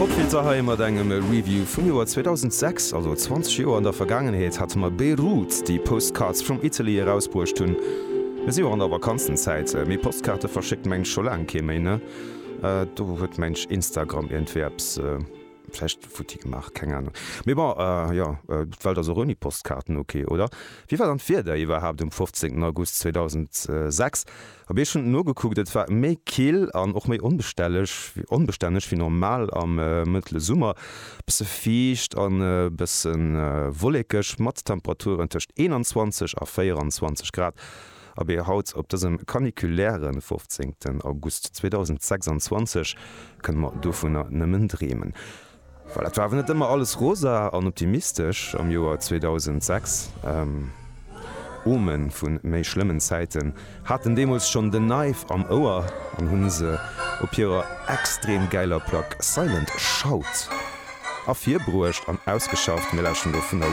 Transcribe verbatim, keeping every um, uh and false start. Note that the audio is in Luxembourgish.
Popfilter hei mat engem Review vum Joer zweedausendsechs, also zwanzeg Joer an der Vergaangenheet, hate mer Beirut, déi Postcards from Italy erausbruecht hunn. Mir si jo och an der Vakanzenzäit, mee Postkaarte verschéckt mengt scho laang kee méi, ne? Do huet mengt Instagram iergendwéi eppes vläicht futti gemaach, keng Ahnung. Mee bon, jo, d'Welt ass och ouni Postkaarten ok, oder? Wéi war dann d'Wieder iwwerhaapt um fofzéngten August zweedausendsechs? Op ech hunn nogekuckt, et war méi kill an och méi onbestänneg onbestänneg wéi normal am mëttele Summer. Bësse fiicht an e bësse wollekeg mat Temperaturen tëscht eenanzwanzeg a véieranzwanzeg Grad. Abee, haut op dësem caniculäre fofzéngten August zweedausendsechsanzwanzeg kënne mer dovunner nëmmen dreemen. Voilà, et war awer net ëmmer alles rosa an optimistesch am Joer zweedausendsechs. Ome vu méi schlëmmen Zäiten haten deemools schonn den Knife am Ouer an hu se op hirer extrem gäiler Plack Silent Shout ervirbruecht an ausgeschafft. Mir lauschteren do vun der.